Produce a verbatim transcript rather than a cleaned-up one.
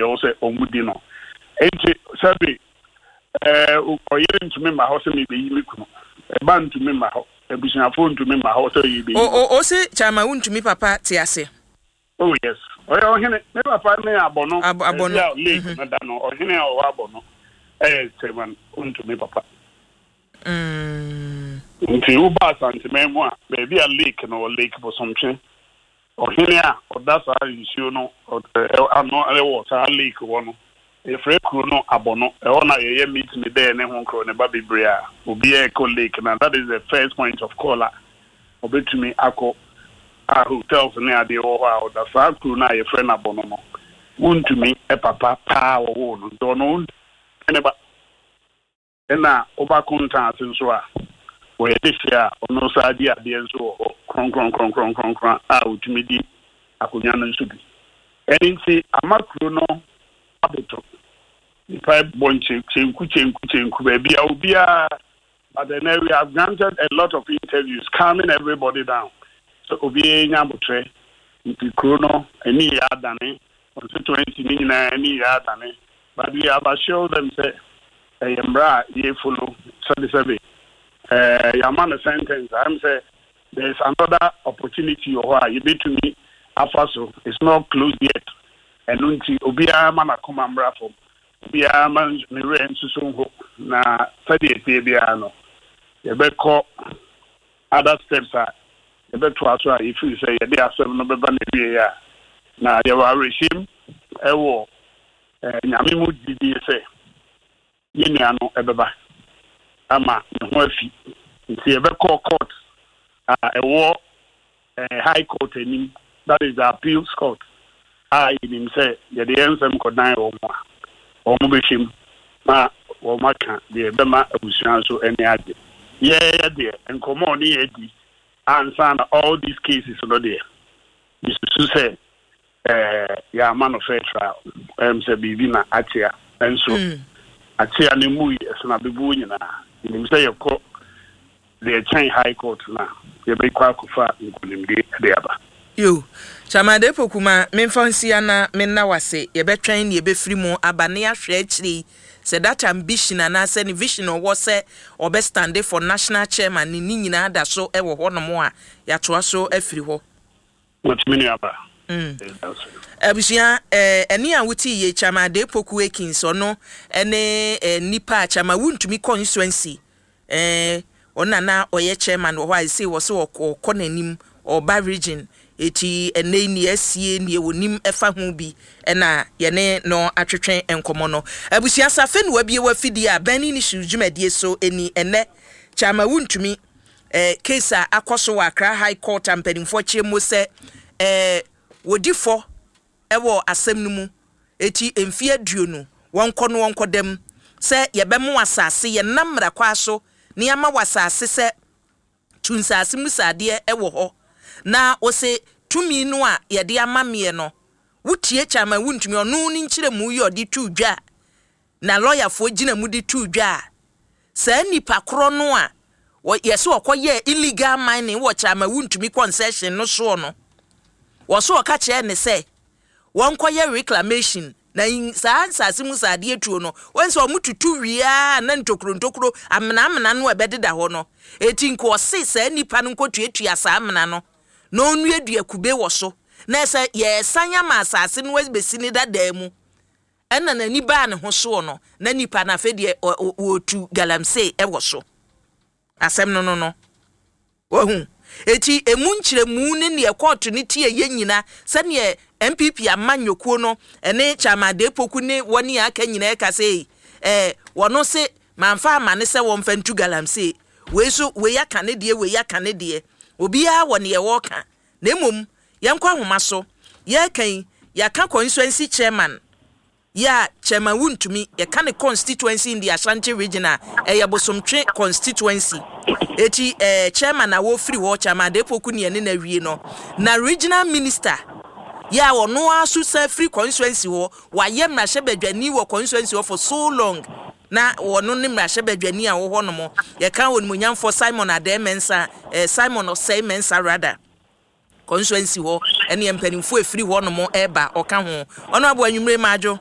Ɛwɔ sɛ ɔmo di no, nti sɛbi ɛɛ ɔyere ntumi ma hɔ sɛ mebeyi me kunu, ɛba ntumi ma hɔ, abusuafoɔ ntumi ma hɔ sɛ yɛbɛyi. O o o se Chairman Wontumi papa te ase? Oh yes, ɔyɛ ɔhene. Ne papa ne Abɔno. Ab Abɔno. Ɛbi a lake no da no, ɔhene a ɔwɔ Abɔno ɛyɛ Chairman Wontumi papa. Mm. Nti woba Asanteman mu a, baabi a lake no wɔ, Lake Bosomtwe, ɔhene a ɔda saa nsuo no ano ɛwɔ saa lake hɔ no, yɛfrɛ kuro no Abɔno. Ɛhɔ na yɛyɛ meet me dɛ ne ho nkorɔ ne ba bebree a obiara ɛkɔ lake na that is the first point of call a ɔbɛtumi akɔ a hotels ne adeɛ wɔ hɔ a ɔda saa kuro no a yɛfrɛ no Abɔno no. Wontumi papa paa wɔwɔ no, nti ɔno wontumi ne ba. Ɛna woba Kontaase nso a, wɔyɛ de hyɛ a ɔno saa di adeɛ nso wɔ hɔ kronkronkronkronkronkron a otumi di akonnwa no nso bi. Ɛne nti ama kuro no aboto, nipa bɔ nkyenku kyenku kyenku baabi a obiara. But then we have granted a lot of interviews calming everybody down so obiara nya abotire. Nti kuro no ani yɛ adane, constituency ne nyinaa ani yɛ adane, but we have assured them sɛ ɛyɛ mmara a yɛ follow. Sɛbisɛbi, ɛɛ yɛama no sentence am sɛ there is another opportunity wɔ hɔ a yɛbɛtumi afa so. It's not closed yet. Ɛno nti obiara ma n'akoma mmra fam, obiara ma ne werɛ nsoso nho, na sɛdeɛ ɛteɛ biara no, yɛbɛkɔ other steps a yɛbɛtoa so a yɛfiri sɛ yɛde asɛm no bɛba no awie a, na yɛwɔ awerɛhyɛm ɛwɔ ɛɛ Nyame mu didie sɛ yɛn nua no ɛbɛba ama ne ho afi. Nti yɛbɛkɔ court a ɛwɔ ɛɛ High Court anim, that is the appeals court, a yɛnim sɛ yɛde yɛn nsɛm kɔdan wɔn a, wɔn bɛhwɛ mu na wɔn aka deɛ ɛbɛma abusua nso ani agye. Yɛyɛ deɛ nkɔmɔ ne yɛ di ansa na all these cases no deɛ, yɛsusu sɛ ɛɛ yɛama no fair trial. Ɛm sɛ biribi na akyea nso Mm. akyea ne mu yi ɛsena bebuo nyinaa. Yɛnim sɛ yɛkɔ deɛ ɛkyɛn High Court na yɛbɛkɔ akɔfa nkonimdie de aba. Yo, Chairman Poku, ma memfa nsia na menna wase. Yɛbɛtwɛn ne yɛbɛfiri mu aba ne yɛahwɛ akyire yi sɛ that ambition anaasɛ ne vision ɔwɔ sɛ ɔbɛ stand for national chairman ne ne nyinaa da so wɔ hɔnom a, yɛatoa so afiri hɔ. Wɔtumi nuaba. Mm. Abusua, eh, ɛne a wote yie, Chairman Poku Akins, ɔno ɛne eh, nipa a Chairman Wontumi constituency, eh, ɔno na na ɔyɛ chairman wɔ hɔ a ɛsɛ wɔ sɛ ɔkɔ n'anim ɔba region. Eti ɛnɛ yi nea asie, nea wɔnim ɛfa ho bi, ɛna yɛne no atwetwe nkɔmɔ no. Abusua, safe no wabie wafidie a Burning Issues dwumadie so ɛni. Ɛnɛ Chairman Wontumi eh, case a akɔ so wɔ Accra High Court a mpanimfoɔ kyerɛ mu sɛ eh, wɔdi fɔ ɛwɔ asɛm no mu, eti mfeɛ aduonu wɔnkɔ no wɔnkɔ dɛm sɛ yɛbɛmo asase, yɛnam mmara kwa so na yɛama wɔ asase sɛ tu nsase mu saadeɛ ɛwɔ hɔ, na wɔsɛ tumi no a yɛde ama meɛ no. Wotie Chairman Wontumi, ɔno ne nkyerɛmu yi ɔde tu dwa na lɔyafoɔ gyina mu de tu dwa a, saa nipa korɔ no a yɛsɛ ɔkɔyɛ illegal mining wɔ Chairman Wontumi concession no soɔ no, wɔso ɔka kyerɛ ne sɛ wɔnkɔyɛ reclamation na saa nsase mu saadeɛ tuo no, wɔn sɛ ɔmo tutu wia na ntokuro ntokuro amena amena no a ɛbɛdeda hɔ no. Eti nka ɔse saa nipa no nkɔtuatua saa amena no na ɔnnuadua kube wɔ so na ɛsɛ yɛsan ama asase no bɛsi ne dadaa mu. Ɛna n'ani baa ne ho soɔ no, na nipa no afei deɛ wɔtu galamsey ɛwɔ so. Asɛm no no no wahu. Eti emu nkyerɛmu ne neɛ kɔɔto ne tie yɛ nyina, sɛneɛ N P P ama nnwokuo no ɛne Chairman Poku ne wɔne aka nyinaa ɛka sɛ ɛɛ wɔno se mamfa ama ne sɛ wɔmfa ntu galamsey. Wei so wei aka ne deɛ, wei aka ne deɛ, obiara wɔ neɛ wɔreka. Na mmom yɛnkɔ ahoma so. Yɛreka yi, yɛaka constituency chairman yɛ a Chairman Wontumi, yɛka ne constituency in the Ashanti Region a ɛyɛ Bosomtwe constituency. Eti ɛɛ chairman a wɔfiri hɔ, Chairman Adepoku ne ɛne na wie no, na regional minister yɛ a ɔno ara so san firi constituency hɔ, wayɛ mmarahyɛbadwani wɔ constituency hɔ for so long, na wɔno ne mmarahyɛbadwani a wɔwɔ hɔ nom, yɛka onimonyamfoɔ Simon Adɛɛ Mɛnsa, ɛɛ Simon Ɔsɛe Mɛnsa rather, constituency hɔ, ɛne mpanimfoɔ efiri hɔ nom ɛɛba, ɔka ho. Ɔno abo anwummere maadwo.